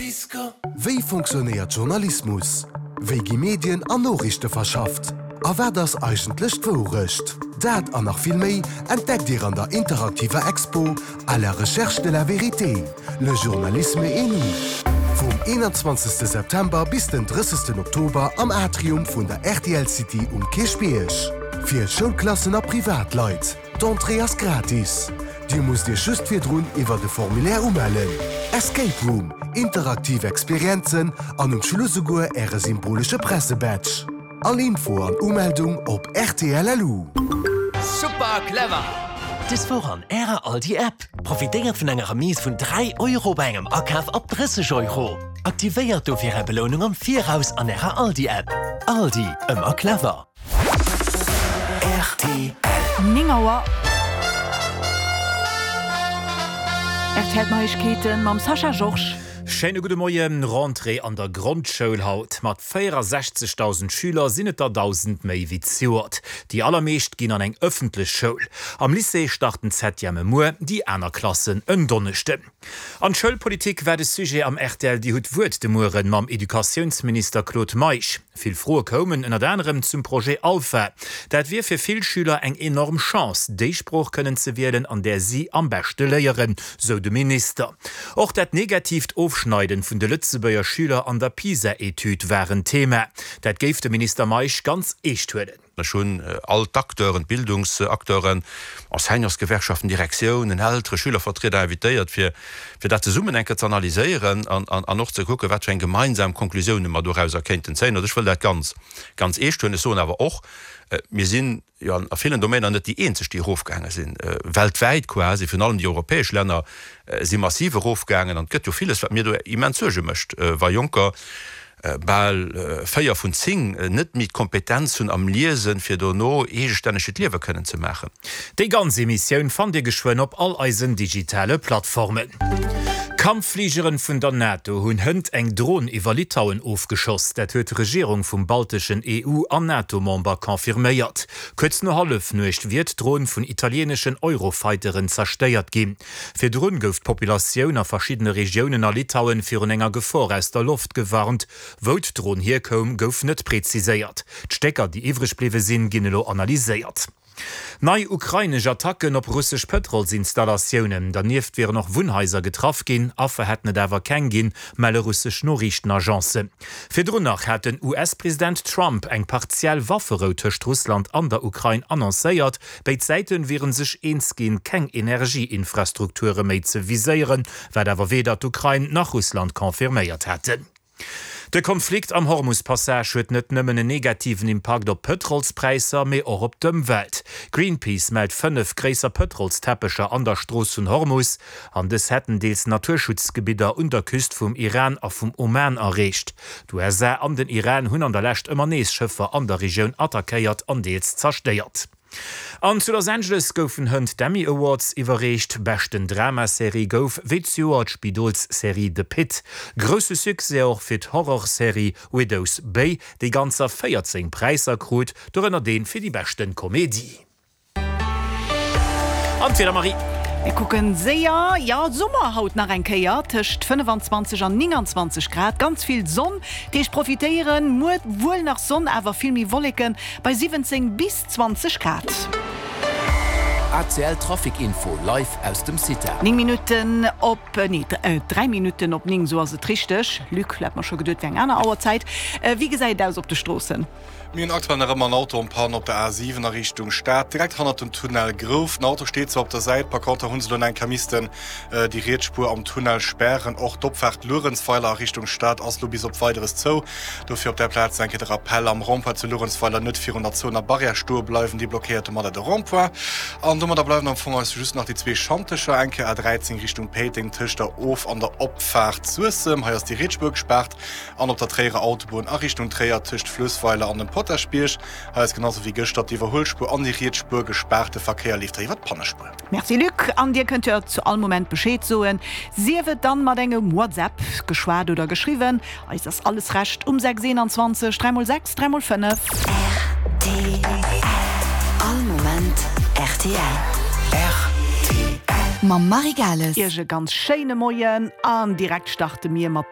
Wéi fonctionnéiert Journalismus? Wéi gi Medien an Noriichte verschafft? A wat ass eigentlech d'Wourecht? Dat an nach vill méi entdeckt Dir an der interaktiver Expo À la recherche de la vérité, le journalisme et nous vum 21 September bis den 30 Oktober am Atrium vun der rtl City um Kierchbierg. Fir Schoulklassen a Privatleit. D'Entrée ass gratis. Dir musst Iech just virdrun iwwert e Formulaire umellen. Escape Room, interaktiv Experienzen an um Schluss esouguer Äre symbolesche Pressebadge. All Info an Umeldung op rtl.lu. Super clever! Des Woch an Ärer Aldi App! Profitéiert vun enger Remise vun 3 Euro bei engem Akaf ab 30 Euro. Aktivéiert dofir Är Belounung am Viraus an Ärer Aldi App. Aldi, ëmmer clever! Rtl. 9 Auer. Rtl Neiegkeeten mam Sascha Georges. Schéine gudde Moien. Rentrée an der Grondschoul haut. Mat 64.000 Schüler sinn et der 1.000 méi wéi zejoert. Déi allermeescht ginn an eng ëffentlech Schoul. Am Lycée starten d'Septièmë muer, déi aner Klassen en Donneschden. An d'Schoulpolitik war de Sujet am rtl Dir hutt d'Wuert de Mueren mam Educatiounsminister Claude Meisch. Vill Froe koumen ënnert anerem zum Projet Alpha. Dat wier fir vill Schüler eng enorm Chance, déi Sprooch kënnen ze wielen, an där si am beschte léieren, sou de Minister. Och dat negatiivt Ofschneiden vun de Lëtzebuerger Schüler an der PISA-Etüd war en Thema. Dat géif de Minister Meisch ganz eescht huelen. Ech hunn all d'Acteuren, d'Bildungsacteuren, Enseignantsgewerkschaften, Direktiounen, Eltere, Schülervertrieder invitéiert, fir dat zesummen eng Kéier ze analyséieren an och ze kucken, wat fir eng gemeinsam Konklusiounen mer dorauser kéinten zéien. Also ech wëll dat ganz, ganz eescht huelen. Ech soen awer och, mir sinn jo a villen Domainer net déi eenzeg, déi erofgaange sinn, weltwäit quasi, virun allem déi europäesch Länner si massiv erofgaangen. An et gëtt jo villes, wat mir do immens Suerge mécht, wa Jonker bal 4 vun 10 net méi d'Kompetenz hunn am Liesen, fir dono eegestänneg hiert Liewe kënnen ze maachen. Déi ganz Emissioun fannt Dir geschwënn op all eisen digitale Plattformen. Kampffligeren vun der NATO hunn hënt eng Dron iwwer Litauen ofgeschoss. Dat huet d'Regierung vum balteschen EU an NATO-Member confirméiert. Kuerz no Hallefnuecht wier d'Dron vun italieeneschen Eurofighteren zerstéiert ginn. Virdrun gouf d'Populatioun a verschiddene Regiounen a Litauen virun enger Gefor aus der Loft gewarnt. Wou d'Dron hierkoum, gouf net preziséiert. D'Stécker, déi iwwreg bliwwe sinn, ginn elo analyséiert. Nei ukrainesch Attacken op russesch Pëtrolsinstallatiounen. Dernieft wieren och Wunnhaiser getraff ginn, Affer hätten et awer keng ginn, melle russesch Noriichtenagencen. Virdrun nach hat den US-President Trump eng partiell Wafferou tëscht Russland an der Ukrain annoncéiert. Béid Säite wiere sech eens ginn, keng Energieinfrastrukture méi ze viséieren, wat awer weder d'Ukrain nach Russland confirméiert hätten. De Konflikt am Hormus-Passage huet net nëmmen en negativen Impakt op d'Pëtrolspräisser, mee och op d'Ëmwelt. Greenpeace mellt 5 gréisser Pëtrolsteppecher an der Strooss vun Hormus, an dës hätten deels Naturschutzgebidder un der Küst vum Iran a vum Oman erreecht. D'USA an den Iran hunn an der Lescht ëmmer nees Schëffer an der Regioun attackéiert an deels zerstéiert. An zu Los Angeles goufen hënt d'Emmy Awards iwwerreecht. Beschten Dramaserie gouf wéi zejoert d'Spidolsserie The Pitt. Grousse Succès och fir d'Horrorserie Widow's Bay, déi ganzer 14 Präisser krut, dorënner dee fir déi beschte Komedie. An d'Wieder, Marie? Mir kucken séier, jo, Summer haut nach eng Kéier, tëscht 25 an 29 Grad, ganz vill Sonn, Deeg profitéieren. Muer wuel nach Sonn, awer vill méi Wolleken bei 17 bis 20 Grad. ACL Trafic Info live aus dem CITA. 9 Minutten op, nee, 3 Minutten op 9, esou ass et richteg. Luc, hat mer scho geduet, wär eng aner Auerzäit. Wéi gesäit et aus op de Stroossen? Mir hunn aktuell nach ëmmer en Auto en panne op der A7 a Richtung Stad, direkt hannert dem Tunnel Grouf. Den Auto steet zwar op der Säit, par contre hu se elo nach eng Kéier missten déi riets Spuer am Tunnel spären. Och d'Opfaart Luerenzweiler a Richtung Stad ass elo bis op Weideres zou. Dofir op där Plaz eng Kéier de Rappell, Am Rond-point zu Luerenzweiler net virun der zouener Barrière stoe bleiwen, déi blockéiert domadder de Rond-point. An domadder bleiwen am Fong eis just nach déi zwee Schantecher, eng Kéier A13 Richtung Péiteng tëscht der Of an der Opfaart Suessem, hei ass déi riets Spuer gespaart, an op der Tréierer Autobunn a Richtung Tréier tëscht Fluessweiler an dem Potaschbierg, hei ass genau sou wéi gëschter d'Iwwerhuelspuer an déi riets Spuer gespaart, de Verkéier leeft hei iwwer d'Pannespuer. Merci Luc, an dir kënnt jo zu all Moment Bescheed soen, sief et dann mat engem WhatsApp, geschwat oder geschriwwen. Eis ass alles Recht um 6 21 3 x 6 3 x 5. Rtl, All Moment rtl. Rtl. Mam Marie Gales. Iech e ganz schéine Moien an direkt starte mir mat.